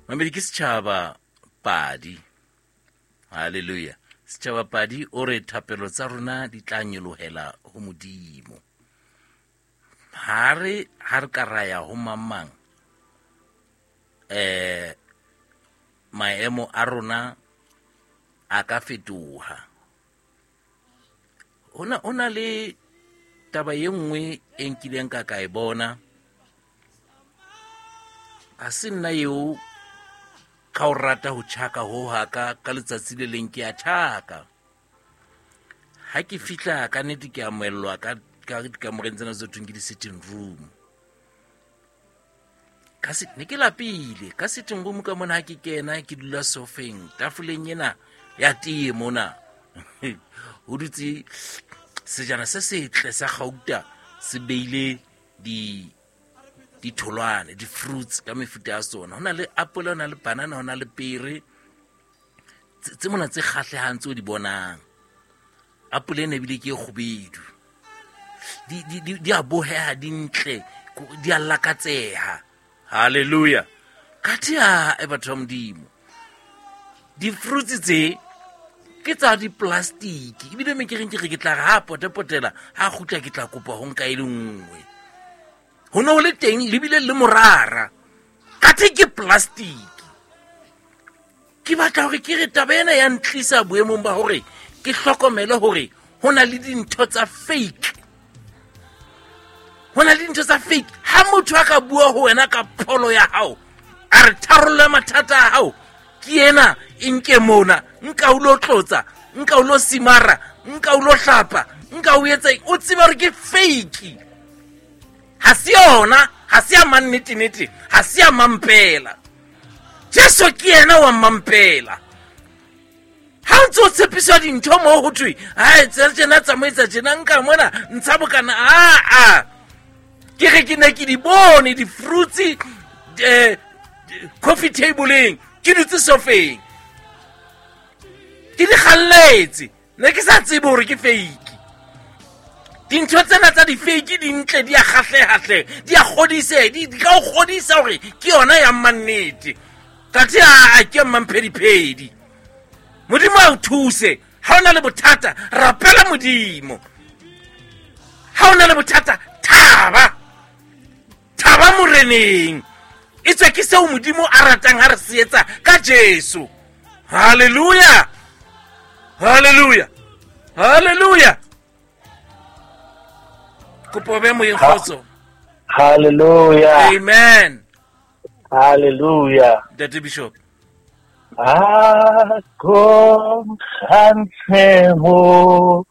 Mamedi ke setšhaba padi. Halleluja. Setšhaba padi o re thapelo tsa rona di tla nyolohela ho Modimo. Ha re ha re ka raya ho mang mang maemo a rona a ka fetoha. Ho na le taba ye nngwe e nkileng ka ka e bona. Ha se nna eo ka o rata ho tjhaka ho haka ka letsatsi le leng ke a tjhaka. Ha ke fihla ka nnete ke amohellwa ka dikamoreng tsena tse thweng ke di-sitting room. Ka se, ne ke lapile ka sitting room ka mona ha ke kena ke dula sofeng tafoleng ena ya tee mona. Ho dutse sejana se setle sa gauta se beile ditholwana, di-fruits ka mefuta ya tsona. Ho na le apole, ho na le banana, ho na le pere tse mona tse kgahlehang tseo di bonang. Apole ena ebile ke e kgubedu. Di a boheha, di ntle, di a lakatseha. Hallelujah. Kathe a e batho ba Modimo. Di-fruits tse ke tsa di-plastic. Ebile me ke reng ke re ke tla re ha potepotela, ha kgutla ke tla kopa ho nka e le nngwe. Ho ne ho le teng le bile le morara. Kathe ke plastic. Ke batla hore ke re taba ena ya ntlisa boemong ba hore ke hlokomele hore ho na le dintho tsa fake. Ho na le dintho tsa fake. Ha motho a ka bua ho wena ka pholo ya hao, a re tharollo ya mathata a hao ke ena, e nke mona, nka o lo tlotsa, nka o lo simara, nka o lo hlapa, nka o etsa eng, o tseba hore ke fake. Ha se yona, ha se ya mannete-nete, ha se ya mampela. Jesu ke yena wa mampela. Ha o ntse o tshepiswa dintho moo ho thwe, hai, tsela tjena, tsamaisa tjena, nka mona, ntsha bokana, a. Ke re ke ne ke di bone di-fruits, coffee table-eng, ke dutse sofeng. Ke di kgalletse, ne ke sa tsebe hore ke fake. Dintho tsena tsa di-fake di ntle, di a kgahleha hle, di a kgodise, di ka o kgodisa hore ke yona ya mannete. Kathe a ke mmamphediphedi. Modimo a o thuse. Ha o na le bothata, rapela Modimo. Ha o na le bothata, thaba. Thaba moreneng. E tswe ke seo Modimo a ratang ha re se etsa ka Jesu. Hallelujah. Hallelujah. Hallelujah. Kopo be moyeng kgotso. Hallelujah. Amen. Hallelujah. Ntate Bishop. A ko kgantshe mo